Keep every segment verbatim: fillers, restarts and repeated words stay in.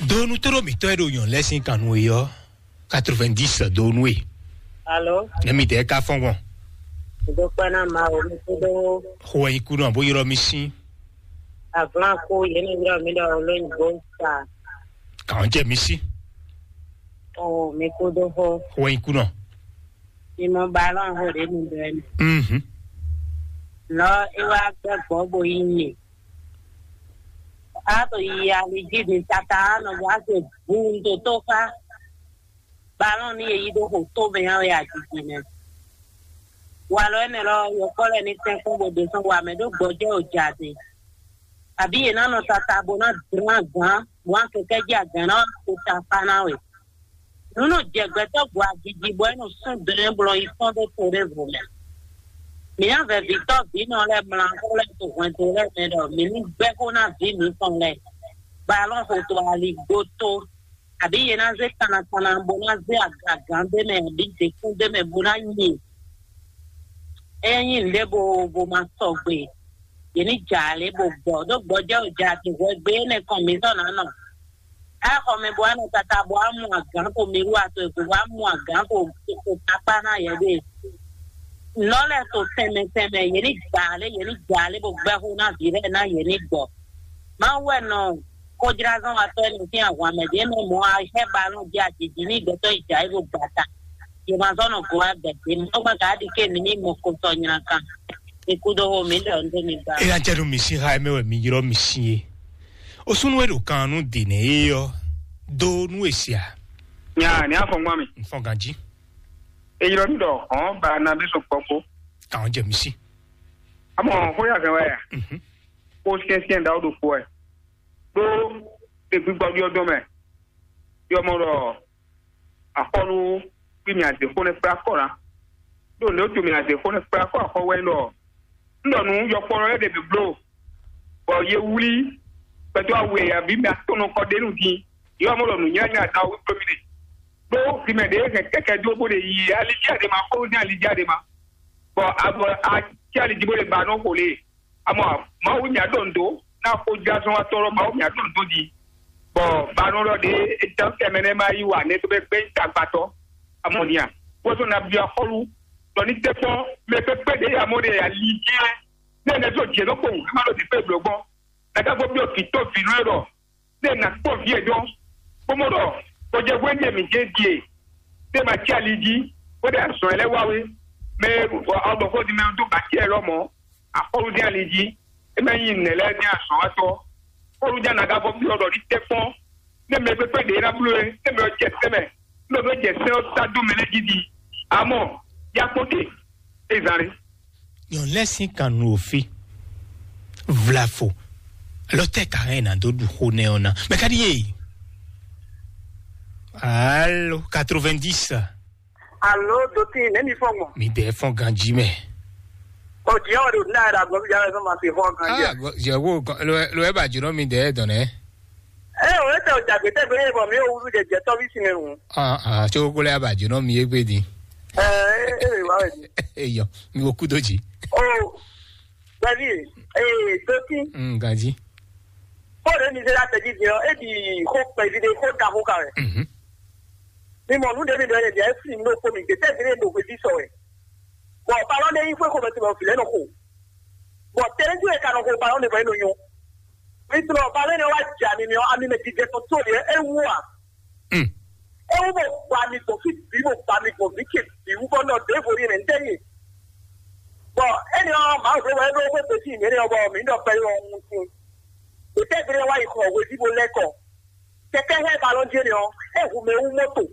Donu tó ɖo mǐtɔn e ɖo nyɔ̌nu lɛ́ɛ sín kan nú é ɔ́, quatre-vingt-dix donu e. Alo, Nɛ mi dɛɛ ka fɔn gbɔn. Ŋdó kpɛ́ ná ma o, mi kúdó. Xo wɛ nyi kú nɔ bó ylɔ́ mi sín. Avlan kú, yě ní ylɔ́ mi ɖɔ lóyìnbó sa. Kàn jẹ́ mi sí. O, mi kúdó xó. Xo wɛ nyi kú nɔ. Mi mɔ balɔn xo ɖě mi ɖɔ ɛ mi. Mhm. Lɔ é wá gbɛ gbɔ bo yi mi. A to yi ali jí mi tata nɔ bɔ a se bu ŋdo tó fá. Balɔn ní e yí ɖó xo tó mɛ ɔ́ wɛ ajiji mɛ. Walɔ énɛ́ lɔ yɔkpɔ́ lɛ́ɛ ní tɛ́nkpɔ́n bó ɖe sɔ́ wa mɛ ɖó gbɔjɛ́ o jɛ ade. Abǐ yě ná nɔ tata bó ná dlán gǎn, bó ná kɛkɛ́ jí agǎn ná ko ta fá ná we. Nǔ nɔ jɛ gbɛtɔ́ gbɔ ajiji bɔ é nɔ sún dlɛ́n blɔ yi fɔ́n dó to ɖěvo mɛ. Mǐ ná vɛ vǐtɔ́ vǐnɔ lɛ́ɛ mlá xó lɛ́ɛ to hwɛndo lɛ́ɛ mɛ ɖɔ mǐ ní gbɛ́ xó ná vǐ mǐtɔn lɛ́ɛ. Balɔn xo to ali gbo tó. Abǐ yě ná zé kannakanna bó ná zé agagǎn ɖé mɛ abǐ děkún ɖé mɛ bó ná nyi. É nyí nǔɖé bo bo ma sɔgbe, yě ní jǎ lě bó gbɔ ɖó gbɔjɛ́ o jɛ ati hwɛgbe énɛ́ kɔn mǐtɔn ná nɔ. Á xɔ mɛ bó wá nɔ tata bó wá mu agǎn ko mi wú ato ego bó wá mu agǎn ko ko takpá ná yɛ ɖe. Nɔ lɛ́ɛ to tɛnmɛ tɛnmɛ, yě ní jǎ lě, yě ní jǎ lě bó gbɛ́ xó ná vǐ lɛ́ɛ ná yě ní gbɔ. Mawu wɛ nɔ xójlázɔ́watɔ́ énɛ́ sín ahwan mɛ ɖě mɛ mɔ̌ a hɛ́ balɔ́n jí ajǐjí ní gbɛtɔ́ yi jǎ é ɖo gbata. Yě ma zɔ́ nɔ go wá gbɛ̌ dě mɔ̌ gbɛ́ ka ɖi ké ní mí mɔ ko sɔ nyla kan. Mi kú dó xó mi ɖɔ un dó mi ba. Eya jɛ nú mi sín xá mɛ wɛ mi ylɔ́ mi sín é. O súnú e ɖo kan nú dě nɛ é ɔ́, dó nú e sia. Nya ní afɔngban mi. N fɔn ganjí. E ylɔ́ mi ɖɔ hɔn ba na bí sɔn kpɔkpɔ. Kàn jɛ mi sí. Amɔ xó yà fẹ́ wá yà. Mhm. Kó syɛ́nsyɛ́n ɖawo ɖokpó wɛ. Ɖó ɖe gbígbɔ ɖyɔ́ dɔn mɛ. Yɔ mɔ ɖɔ axɔ́lú kpí mì azě xó nɛ́ kplá kɔ ná. Ɖó nǔ e wútu mì azě xó nɛ́ kplá kɔ axɔ́ wɛ ɖɔ un ɖɔ nǔ yɔkpɔ́nɔ lɛ́ɛ ɖě bǐ bló, bɔ yě wlí gbɛtɔ́ awu e abǐ mɛ atɔ́ɔ́n nɔ kɔ ɖ'é nu din. Yɔ mɔ ɖɔ nǔnywɛ́nywɛ́ adawu wí kpé mì ɖe. Ɖó hwi mɛ ɖě hɛn kɛkɛ dó bó ɖe yi alija ɖe ma, xó ní alija ɖe ma. Bɔ abɔ acɛ ali jí bó ɖe ba nɔ xo lě. Amɔ Mawu nya ɖo ndo na xojlázɔ́watɔ́ lɔ, Mawu nya ɖo ndo di. Bɔ banɔ lɔ ɖe etɛn kɛmɛ nɛ ma yi wa ne to bɛ gbɛ tagbatɔ. Amɔ nia, wosɔ na bia xɔlu, tɔ ni tɛ kpɔn mɛ pɛpɛ ɖe ya mɔ ɖe ya li jɛ. Ne ne to jɛ nɔ kpɔn, ma ɖo di pe blɔ gbɔn. Na ka fɔ biɔ kitɔ vi nɔ ɖɔ, ne na kpɔ vi e dɔn. Kpɔmɔ ɖɔ, kɔjɛ hwɛ ne mi jɛ die. Ne ma tsi ali jí, ko ɖe azɔn lɛ wa we. Mɛ ɔgbɔn ko di mɛ do ba tsi lɔ mɔ. Axɔlu dín ali jí, é mɛ nyí nɛ̌ lɛ́ɛ dín azɔ̌watɔ́. Pɔ́lu ján nagá vɔ byɔ́ ɖɔ ní tɛ́ kpɔ́n, nɛ mɛ kpékpé ɖě ná bló é, nɛ mɛ ɔ́ jɛ sɛ́ mɛ, nɔ ɖó jɛ sɛ́ ɔ́ sá dó mɛ lɛ́ɛ jí ɖi. Amɔ, yá kpɔ́n te, é zán ɖé. Nyɔ̌nu lɛ́ɛ sín kan nu òfin vlafo. Alɔ tɛ ka hɛn na dó ɖu xó nɛ ɔ́ ná. Mɛ ka ɖi ye? Alo, quatre-vingt-dix. Alo, dotí, nɛ̌ mi fɔ́n gbɔn? Mi dɛ fɔn ganji mɛ. Ɔ, jìyɛ wɛ ɖo ní ayɛ ɖo agbɔn fí jɛ wɛ sɔn ma se fɔ́n ganji. Ah, jɛ wo lo lo ɛ ba jɔ mi dɛ dɔn nɛ. Ɛ o, etɛ o jagbe tɛ gbé bɔ mi o wulu jɛ jɛ tɔbi sinɛ ŋu. Ah, ah, tso ko lɛ ba jɔ mi egbe di. Ɛ, ɛ, ɛ, wa wɛ di. Eyɔ, mi wo kudo ji. O, bɛbi, ɛ, dotí. Mm, ganji. Ko ɖe mi se la tɛ ji jɛ ɔ, e di ko kpɛ vi de ko da ko ka wɛ. Mhm. Mi mɔ nu ɖe mi ɖɔ yɛ bia e fli mi ɖo ko mi gbe tɛ vi ɖe ɖo hwe bi sɔ wɛ. Bɔ balɔn ɖe yi xwe xo mɛ tɔn vi lɛ nɔ xo. Bɔ tɛnɛ ju e ka nɔ xo balɔn ɖe bɔ e nɔ nyɔ. Mi tɔn balɔn ɖe wa ja mi mi ɔ ami mɛ jijɛ tɔn to yɛ e wu a. Mm. E wu bɔ gba mi gbɔ fi bi bɔ gba mi gbɔ vi ke bi wu bɔ nɔ de vo ni mɛ n tɛ yi. Bɔ e ni ɔ ma vo wɛ ɖo xwe pe si mi ni ɔ bɔ mi nɔ pɛ yɔ ŋu kun. Gbe tɛ vi ɖe wa yi xɔ hwe vi bo lɛ kɔ. Kɛkɛ hɛ balɔn jɛ ni ɔ, e hu mɛ wu moto.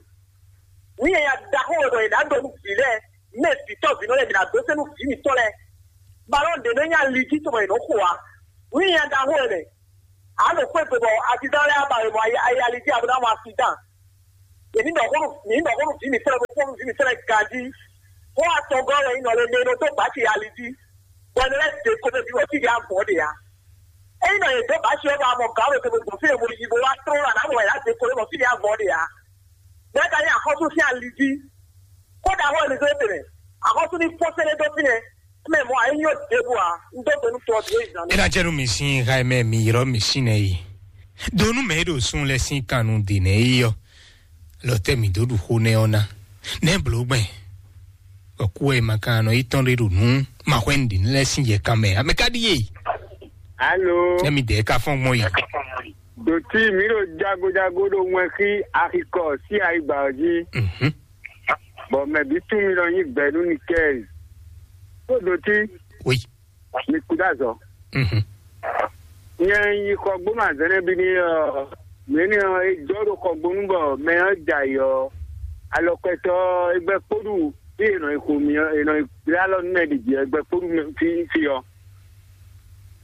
Ní yɛ ya da xó wɛ bɔ yě ná dɔ nú vǐ lɛ́ɛ, mɛ vǐtɔ́ vǐnɔ lɛ́ɛ bǐ ná dó sɛ́n nú vǐ mǐtɔn lɛ́ɛ. Balɔn ɖě nɔ nyí ali jí tɔn bɔ yě nɔ xo ǎ. Ní yɛ ya da xó wɛ mɛ, a nɔ xwé gbe bɔ azizán lɛ́ɛ ba wɛ mɔ ayi ali jí abo ná mɔ asidán. Yě ní ɖɔ xó nú yě ní ɖɔ xó nú vǐ mǐtɔn lɛ́ɛ bó xó nú vǐ mǐtɔn lɛ́ɛ ganjí. Xó atɔngɔ́ wɛ nyí nɔ lé mɛ e nɔ dó gbǎ ce ali jí. Bɔ è nɔ lɛ́ dě ko mɛ bǐ bɔ fí ɖě avɔ ɖe ǎ. Ényí nɔ yě dó bǎ ce ɔ́ bɔ a mɔ gǎn ɖo te bó gbɔn fí e bo yi bó wá tlɔ́n ɖo aɖǎ mɔ wɛ yě ná dě ko ɖé bɔ fí ɖě avɔ ɖe ǎ. Bɔ é ka nyí axɔ́sú sín ali jí. Kódà xɔ ɛ mi zɔ́n tɛnmɛ. Axɔ́sú ní fɔ́n sɛ́nɛ dó fínɛ́. Mɛ mɔ ayé nyɔ ɖěbǔ ǎ. Un dó gbe nú tɔ ɔ́ bǐ é zǎn. E na jɛ nu mi sin xa mɛ mi yrɔ mi sin nɛ yi. Donu mɛ e ɖo sun lɛ sín kannu ɖe nɛ yi ɔ, lɔ tɛ mi dó ɖu xó nɛ ɔ ná. Nɛ bló gbɛn. Ɔkú wɛ ma kan nɔ yi tɔn ɖe ɖo nú ma hwɛ nɖi lɛ sín yɛ kan mɛ. Ame ka ɖi ye? Alo. Nɛ mi dɛ ka fɔn gbɔn yi. Dòtí mi ɖo jagojago ɖo wɛn xí axikɔ sí ayigba ɔ jí. Mhm. Bɔ mɛ bí tún mi nɔ nyi gbɛ nú ni kɛ. Tó dòtí. Oui. Mi kú dá zɔ. Mhm. Nyɛ yi xɔgbónu azɛnɛ bi ní ɔ, mɛ ní ɔ, e jɔ ɖo xɔgbónu bɔ mɛ ɔ ja yi ɔ, alɔkɔtɔ e gbɛ kpóɖu bí e nɔ yi xo mi ɔ, e nɔ yi gbé alɔ nú mɛ ɖi jí ɔ, e gbɛ kpóɖu mɛ fi fi ɔ.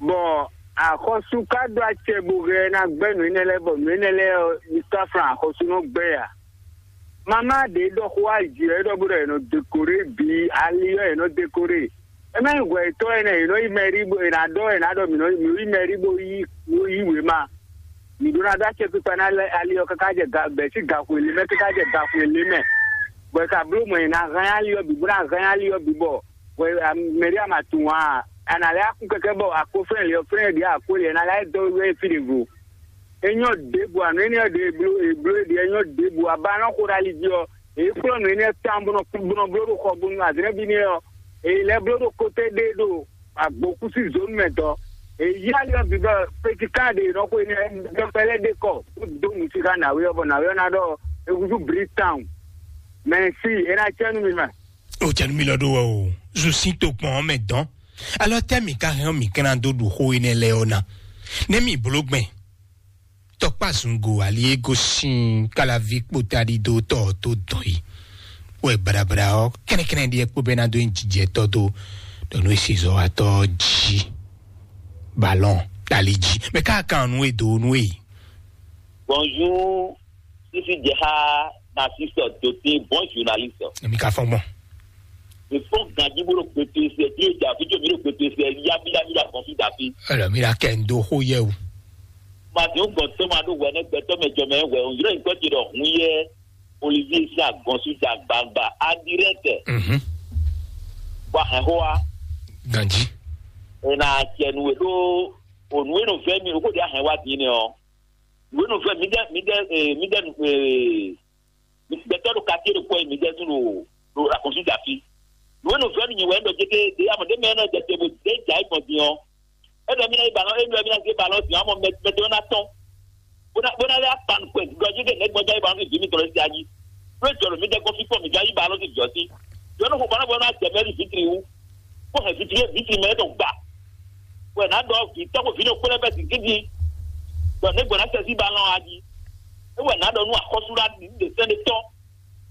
Bɔ axɔ́sú ka ɖó acɛ bó hɛn ná gbɛ́ nǔ énɛ́ lɛ́ɛ bɔ nǔ énɛ́ lɛ́ɛ ɔ, mi ka flan axɔ́sú nɔ gbɛ́ a? Mama ɖě ɖɔ xó wá jǐ wɛ ɖɔ bó ɖɔ è nɔ dekoré bǐ ali ɔ́ è nɔ dekoré. É má nyí hwɛ yětɔn ɛnɛ è nɔ yi mɛɖí bó è nǎ ɖɔ è nǎ ɖɔ mǐ nɔ mǐ yi mɛɖí bó yí bó yí wěma. Mǐ ɖó ná ɖó acɛkpikpa ná lɛ ali ɔ́ káká jɛ ga bɛ̌ sín gaxwe lě mɛ káká jɛ gaxwe lě mɛ. Bɔ è ka bló mɔ è nǎ hɛn ali ɔ́ bǐ bó ná hɛn ali ɔ́ bǐ bɔ hwɛ mɛɖí a ma tunwun ǎ. A nǎ lɛ́ akún kɛkɛ bɔ akó flɛ́n lě ɔ́ flɛ́n ɖě akó lě ná lɛ́ dɔ wɛ fí ɖěvo. Enyɔ ɖěbǔ anu énɛ́ ɖě eblo eblo ɖě enyɔ ɖěbǔ aba nɔ xo ɖe ali jí ɔ, èyí kplɔ́ nǔ énɛ́ tawun bó nɔ bó nɔ bló ɖo xɔ bónú azɛ́nɛ́ bí nɛ́ ɔ, èyí lɛ́ bló ɖo kóté ɖé ɖo agbókúsí zónú mɛ dɔ. Èyí ali ɔ́ bǐ bɔ petikán ɖě nɔ xo énɛ́ dɔkpɛ lɛ́ ɖe kɔ bó dó nǔsíxa nǎwé ɔ́ bɔ nǎwé ɔ́ ná ɖɔ ehúzú brí tawun. Mɛ sí é ná cɛ́ nú mi mɛ. Ó cɛ́ nú mi lɔ ɖó wɛ o, zu sín tokpɔn ɔ́ mɛ dɔn. Alɔ tɛ mi ka hɛn ɔ mi kɛn na dó ɖu xó énɛ́ lɛ́ɛ ɔ ná? Nɛ mi bló gbɛn. Tɔkpá zungo ali e gosín kálaví kpóta ɖídó tɔ tó dɔn yi. Wɛ braɖabraɖa ɔ kɛnɛkɛnɛ ɖíɛ kpó bɛ ná dó nyi jijɛ tɔ dó ɖɔ nú esi zɔ wa tɔ jí. Balɔn tali jí. Mɛ ká kan nú e do nú e. Bonjour, sisi Jeha, Narcisse Doté, bon journaliste. Èmi ka fɔn gbɔn. Ìfɔn ganji bó ɖo gbèsè sɛ bí o jà fíjì mi ɖo gbèsè sɛ yábíyábí la gbɔn fí dàbí. Ɛlɔ mi la kɛ ndo xó yɛ o. Màdìún gbɔ̀n tó máa ɖó wɛ nɛ gbɛtɔ mɛ jɔ mɛ wɛ òun yóò gbọ́ ti ɖɔ hun yɛ Olivier sí àgbọn sí jà gbangba adirẹ́tẹ̀. Mhm. Wà hɛn xó wa. Ganji. Ena cɛ nu e ɖó ònú e nɔ vɛ mi o kó di ahɛn wa dín nɛ ɔ. Nǔ e nɔ vɛ mi dɛ mi dɛ ee mi dɛ ee gbɛtɔ ɖo kati ɖo kpɔ mi dɛ tún ɖo ɖo akɔnsu da fi. Nǔ e nɔ vɛ mi nyɛ wɛ ɖɔ jete ɖe amɔ ɖe mɛ nɔ jɛ te bo de ja yi gbɔn din ɔ. Eɖɔ mi na yi balɔ eɖɔ mi na se balɔ din amɔ mɛ mɛ tɔ na tɔn. Bona bona lɛ akpan kpɛ gɔdzi ɖe ne gbɔdza yi balɔ fi vi mi tɔ le sia dzi. Ɖo jɔ ɖo mi dɛ kɔ fi kɔ mi dza yi balɔ fi jɔ si. Yɔ ne xɔ balɔ bɔ na jɛ mɛ li fitiri wu. Kó hɛn fitiri fitiri mɛ tɔ gba. Wɛ na ɖɔ vi tɔgbo vi ɖo kplɛ bɛ si gidi. Dɔ ne gbɔna sɛ si ba lɔn aji. Ewɛ na ɖɔ nu akɔsu la ɖi de sɛn de tɔ.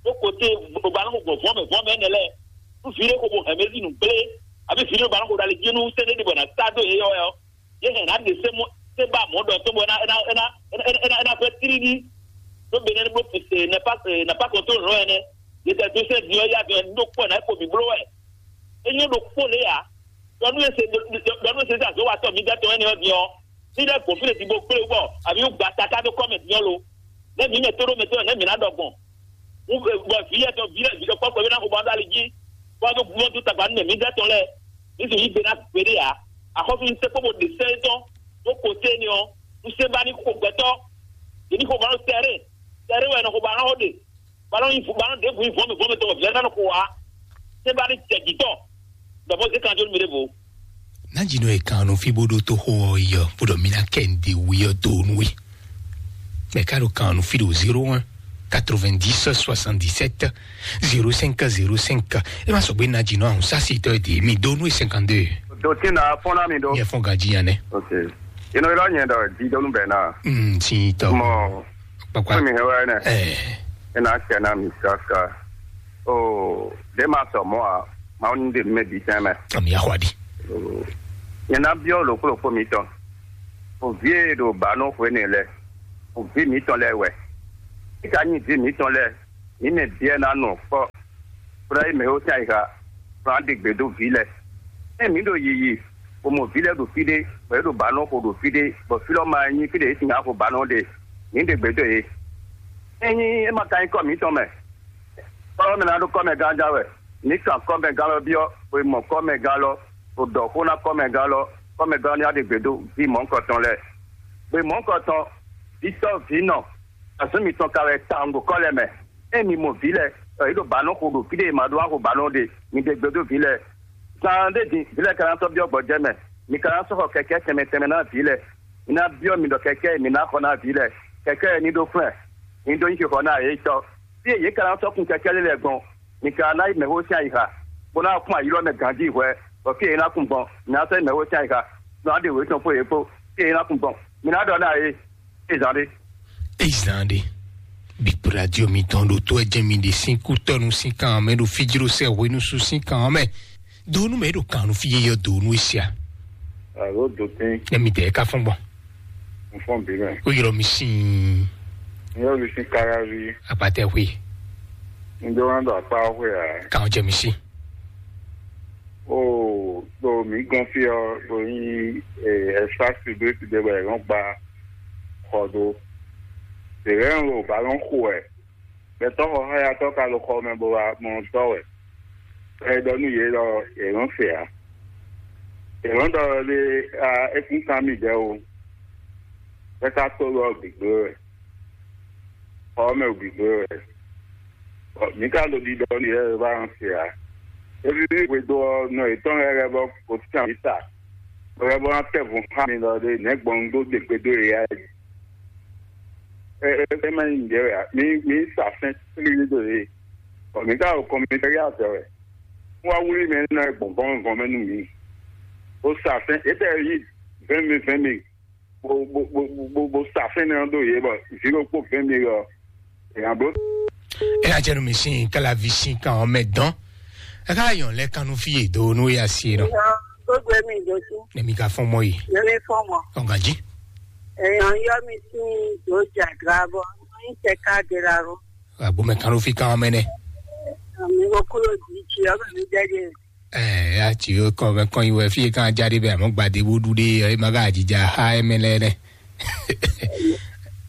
Ɖo kote ba lɔn gbɔ vɔmɛ vɔmɛ ne lɛ. Nu vi ɖe ko bo hɛn mɛ si nu gble. Abi vi ɖe ba lɔn ko dali dzi nu sɛn de bɔ na sa do ye yɔ yɔ. Ye hɛn na de se mo se ba mɔ dɔ to bɔ na ena ena ena ena fɛ tiri di. To be ne bo te na pa na pa kɔntro lɔ ene. Ye tɛ do se di ɔ ya do do kpɔ na ko bi blo wɛ. Enyo ɖokpó lě ǎ. Ɖɔ nú ese ɖɔ nú ese azɔ̌watɔ́ mi dɛtɔ́ énɛ́ ɔ́ din ɔ́, ní lɛ́ gbɔn fí ɖé din bó kplé wú bɔ àbí wú gba taká dó kɔ́ mɛ din ɔ́ lo. Nɛ́ mǐ mɛ tó ɖó mɛ tó nɛ́ mǐ ná ɖɔ gbɔn. Wú bɔ vǐ yɛ tɔn vǐ lɛ́ vǐ ɖɔ kpɔ́kpɔ é ná xo bɔ ɔ́ ɖó ali jí. Bó wá dó bó dó tagba nú mɛ mǐ dɛtɔ́ lɛ́ɛ. Ní sì yí gbe ná gbeɖé ǎ. Axɔ́sú ní sɛ́ kpó bó ɖe sɛ́ étɔn bó ko sé énɛ́ ɔ́, nú sé ba ní xo gbɛtɔ́. Yě ní xo ba nɔ tɛré. Tɛré wɛ nɔ xo ba nɔ xo ɖe. Balɔn yi balɔn ɖe bu yi vɔmɛ vɔmɛ tɔgɔ vlɛ nanɔ ko wa. Se ba ni tɛ jitɔ. Dɔbɔ se kan jɔ mi ɖe bo. Nanji nɔ ye kan nɔ fi bó ɖó tó xó ɔ yi ɔ bó ɖɔ mi ná kɛ ń de wi ɔ dó nú we. Mɛ ká ɖo kan nɔ fi ɖo zéro un quatre-vingt-dix soixante-dix-sept zéro cinq zéro cinq. E ma sɔgbe nanji nɔ ahun sasi tɔ de mi dó nú e cinquante-deux. Dòtí na fɔn ná mi ɖó. Yɛ fɔn ganji yan nɛ. Ok. Inú irọ́ yẹn dọ̀ di dónú bẹ̀ náà. Mm, si tɔ. Mọ̀. Kpakpa. Fún mi hɛn wá nɛ. Ɛɛ. Ina cɛ na mi kaka. O de ma sɔ mɔ a ma ni de mɛ bi tɛn mɛ. Ami axɔ adi. Nyɛ na biɔ lokpo lokpo mi tɔn. O vie ɖo ba nɔ xwe ne lɛ. O vi mi tɔn lɛ wɛ. Ika nyi vi mi tɔn lɛ. Mi mɛ biɛ na nɔ kpɔ. Kpla yi mɛ o tɛ ayiha. Kpla de gbe do vi lɛ. Ɛ mi ɖo yiyi. O mɔ vi lɛ ɖo fi ɖe. Bɔ e ɖo ba nɔ xo ɖo fi ɖe. Bɔ fi lɔ ma nyi fi ɖe e sin axo ba nɔ ɖe. Mi de gbe do ye. Enyi e ma ka nyí kɔ mitɔn mɛ. Kɔlɔ mɛ na ɖo kɔmɛ gán ja wɛ. Mi kan kɔmɛ gán lɔ biɔ, bo mɔ kɔmɛ gán lɔ, bo ɖɔ xó ná kɔmɛ gán lɔ, kɔmɛ gán ní aɖe gbe dó vi mɔ̌ kɔtɔn lɛ. Bo mɔ̌ kɔtɔn, vǐtɔ́ vǐnɔ, azɔ̌ mitɔn ka wɛ tawun ɖo kɔ́ lɛ́ɛ mɛ. Ényí mi mɔ vǐ lɛ́ɛ, ɖɔ yě ɖo bǎ nɔ xo ɖo fí ɖé, è ma ɖó wá xo bǎ nɔ ɖe, mi ɖe gbe dó vǐ lɛ́ɛ. Zan ɖé din, vǐ lɛ́ɛ ka ná sɔ́ byɔ́ gbɔjɛ́ mɛ. Mi ka ná sɔ́ xɔ kɛkɛ́ tɛnmɛ tɛnmɛ ná vǐ lɛ́ɛ. Mi ná byɔ́ mi ɖɔ kɛkɛ́ e mi ná xɔ ná vǐ lɛ́ɛ, kɛkɛ́ e ní ɖó flɛ́, ní dó nyí xixɔ ná yě tɔ́. Fí e yě ka ná sɔ́ kun kɛkɛ́ lé lɛ́ɛ gbɔn, mi ka ná yi mɛ̌xó sín ayixa, bó ná kún ayi lɔ mɛ ganjí hwɛ, bɔ fí e yě ná kun gbɔn, mi ná sɔ́ yi mɛ̌xó sín ayixa, mi ná ɖe wětɔn xó yě kpó, fí e yě ná kun gbɔn. Mi ná ɖɔ ná yě, é zán ɖé. Ezan ɖe. Bíkpó radio mitɔn ɖo tó ɛjɛ mi ɖe sín kútɔnu sín kan mɛ ɖo fíjló sɛ hwenusu sín kan mɛ. Donu mɛ ɖo kan nu fi yeyɔ donu esia. Alo dotin. Ne mi tɛ ka fɔn gbɔn. N fɔn bi mɛ. O yɔrɔ mi sin. N yɔ mi sin kara vi. Apatɛ hwe. N do wan do akpa hwe a. Kan jɛ mi si. O do mi gɔn fi ɔ do yin espace public de bɛ yɔn gba xɔ do. Tèrè ń lo ballon xo ɛ. Gbɛtɔ́ xɔxɔyatɔ́ ka ɖo xɔ mɛ bó wá mɔ dɔ́ wɛ. Bɔ é ɖɔ nú yě ɖɔ yě nɔ́ se ǎ. Yě nɔ́ ɖɔ ɖé, é kún kan mì ɖɛ́ o. É ka tó ɖɔ gbǐgbé wɛ. Xɔ ɔ́ mɛ gbǐgbé wɛ. Bɔ mǐ ka ɖo ɖiɖɔ nú yě wɛ bó wá nɔ se ǎ. É ví hwedó ɔ́, nɔ yětɔn lɛ́ɛ lɛ́ bɔ gosín amǐ sa. Bɔ é bó ná tɛ́ vun xá mi ɖɔ ɖé nɛ̌ gbɔn un dó ɖe gbe dó yě ǎ. É é é má nyí nǔɖé wɛ ǎ. Mi mi sa sɛn tlílí dó yě. Bɔ mǐ ka ɖo kɔnmitɛ́rí azɛ wɛ. Wá wlí mɛ énɛ́ gbɔn gɔ̌n gɔ̌n mɛ nú mǐ. Bó sa sɛn yětɛ́ yí vɛ̌n mi vɛ̌n mi. Bó bó bó bó bó sa sɛn nɛ́ ɔ́ dó yě bɔ vǐ ɖokpó vɛ̌n mi ɔ́. Èèyàn bló. E ná jẹ́ nu mi sin kálávi sin kan ɔ́ mɛ dán. E ká yàn lɛ kanu fi yé do nú ya si nɔ. Gbogbo mi dó sí. Ne mi ka fɔn mɔ yi. Ne mi fɔn mɔ. Ɔ̀gá jí. Èèyàn yọ mi sí ìdó jàdúrà bọ ní tẹ̀ka dèrà ró. Àgbo mɛ kan ló fi kan ɔ́ mɛ nɛ. Àmì okúrò jí jí ọmọ mi jẹ́jẹ́. Ɛ ya tsi yó kɔ mɛ kɔn yi wɛ fi kan ja ɖe bɛ àmọ́ gbadé bó ɖu ɖe ɛ ma ka jija ha ɛ mɛ lɛ nɛ.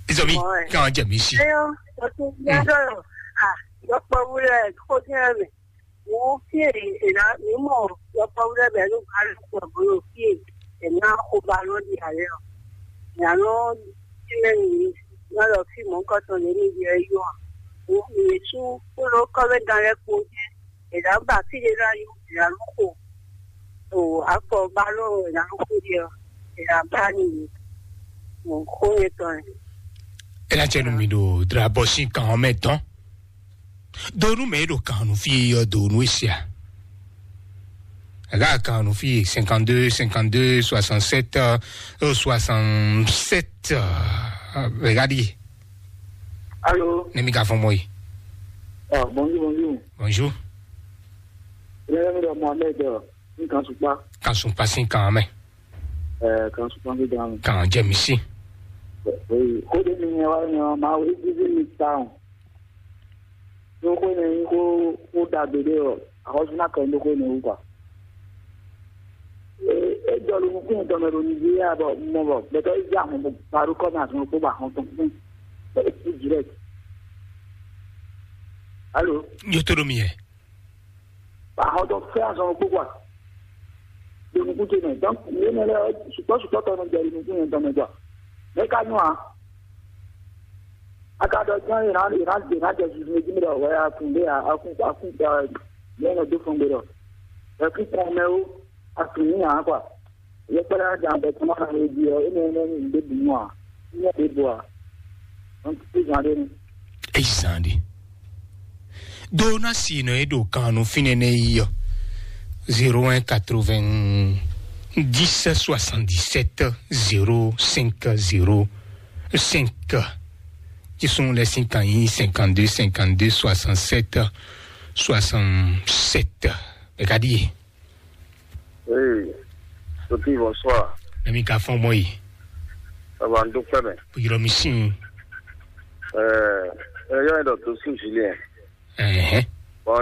Izɔmi kan jɛ mi si. Ayo, o ti gbẹdọ a, yọpọ wúlò ẹ kó jẹ mẹ. Mo fi èyí èlà mi mọ yọpọ wúlò bẹ ló bá lọ pọ bó ló fi èyí èmi á kó ba lọ di àlẹ ọ. Ìyànà tí mẹ nìyí, wọn lọ fi mọ nǹkan tán lé níbi ẹ yọ à. Mo fi èyí tún kó lọ kọ mẹ gan lẹ kó jẹ. Èlà ń bà fílẹ̀ láyé, èlà ló kò. Ò akpɔ ba ló èlà ló kò yẹ, èlà bá nìyí. Mò ń kó yẹn tán ẹ̀. E na cɛ nu mi ɖo drabɔsi kan ɔ́ mɛ dɔn. Donu mɛ e ɖo kan nu fi yɔ donu e sia. Aga kan nu fi cinquante-deux, cinquante-deux, soixante-sept, euh, soixante-sept, euh, regarde. Allô. Ne mi ka fɔn mɔ yi. Ah, bonjour, bonjour. Bonjour. Ilé mi ɖɔ Mohamed, euh, ní kan sukpa. Kan sukpa sin kan mɛ. Ɛ, kan sukpa sin kan mɛ. Kan jɛ mi si. Oyi, kó de mi nyɛ wa nyɛ ma wo ibi mi ta o. Ní kó ne nyí kó kó dagbe ɖé ɔ, axɔ́sú ná kɛ ní kó ne wú kɔ. E e jɔ lo nukún yɛn tɔn mɛ ɖo Nigeria bɔ mɔ bɔ gbɛtɔ yi dza mɔ bɔ baɖó kɔ mɛ azɔn kó ba hɔn tɔn kún. Bɛ e direct. Allô. Yo to ɖo mi yɛ. Ba hɔn tɔn fɛ azɔn kó kwa. Ɖo nukún ce mɛ, donc yě mɛ lɛ sukpɔ́ sukpɔ́ tɔn nɔ jɛ ɖo nukún yɛn tɔn mɛ tɔ. Mɛ ka nyɔ a? A ka ɖɔ gbɔn yě ná yě ná yě ná jɛ zuzu jí mi ɖɔ wɛ a kun ɖé a a kun a kun a yě nɔ dó fɔn gbe ɖɔ. Ɛ kún kɔn mɛ ó a kun ní a kwa. Yɛ kpɛɖɛ a jan bɛ kɔn ma ɖe jí ɔ é mɛ mɛ ní ɖé bu mɔ a ní mɛ ɖé bu a. Donc é zan ɖé nu. Ezan ɖe. Do na si nɔ e ɖo kan nu fínɛ́ nɛ yi ɔ. Zéro un quatre-vingt-dix soixante-dix-sept zéro cinq zéro cinq. Qui sont les cinq ans cinquante-deux cinquante-deux soixante-sept soixante-sept. Regardez. Ee, Sophie, bonsoir. Mɛ mi ka fɔn mɔ yi. Baba n dúpẹ́ mɛ. Yɔrɔ mi sin. Ɛɛ, ɛ yɔ ɛ dɔ tó sún Julien. Ɛhɛn.